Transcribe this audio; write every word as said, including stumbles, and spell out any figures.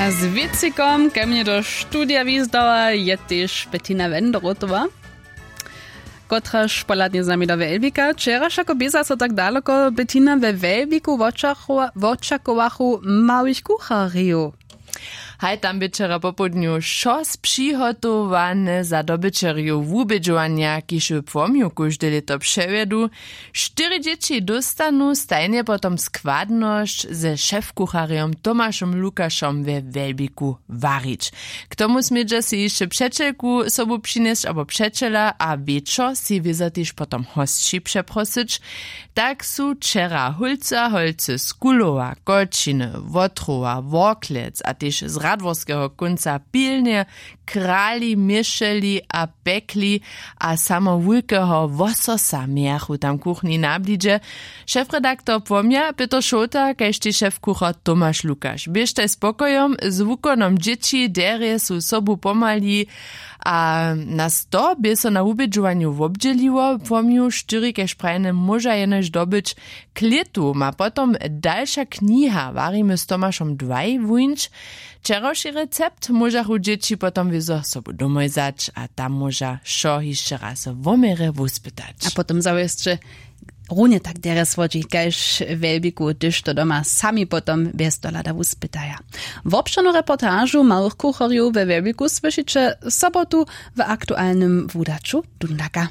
Z wěcikom ke mnje do studija wizdała je tež Bettina Wenderotowa, kotraž pohladnje z nami do Welbika. Wčeraš jako běza so tak daloko, Bettina, we Welbiku wočakowachu małych kucharjow. Haj, tam bě wčera popołdnju wšo spřihotowane za dobyćerjow wubědźowanja, kiž w płomju kóžde lěto přewjedu. Štyri dźěći dóstanu stajnje potom składnosć ze šefkucharjom Tomašom Lukašom we Welbiku warić. K tomu smědźa sej hišće přećelku sobu přinjesć abo přećela a wječor sej wězo tež potom hosći přeprosyć. Tak su wčera hólcy a holcy z Kulowa, Koćiny, Wotrowa, Worklec a tež z radworskeho kónca pilnje krali, měšeli a pekli a samo wulkeho wososa mějachu tam kuchni na blidźe. Šefredaktor Płomja Pětr Šołta kaž tež šefkuchar Tomaš Lukaš běštaj spokojom z wukonom dźěći, derje su sobu pomali. A na sto bě so na wubědźowanju wobdźěliło. Płomju štyri kaž prajene móža jenož dobyć klětu ma potom dalša kniha Warimy z Tomašom dwaj wuńć. Wčerawši recept móžachu dźěći potom wězo sobu domoj wzać a tam móža wšo hišće raz wo měrje wuspytać. A potom zawěsće runje tak derje słodźi kaž w Welbiku, hdyž to doma sami potom bjez dohlada wuspytaja. Wobšěrnu reportažu małych kucharjow we Welbiku słyšiće sobotu w aktualnym wudaću Dundaka.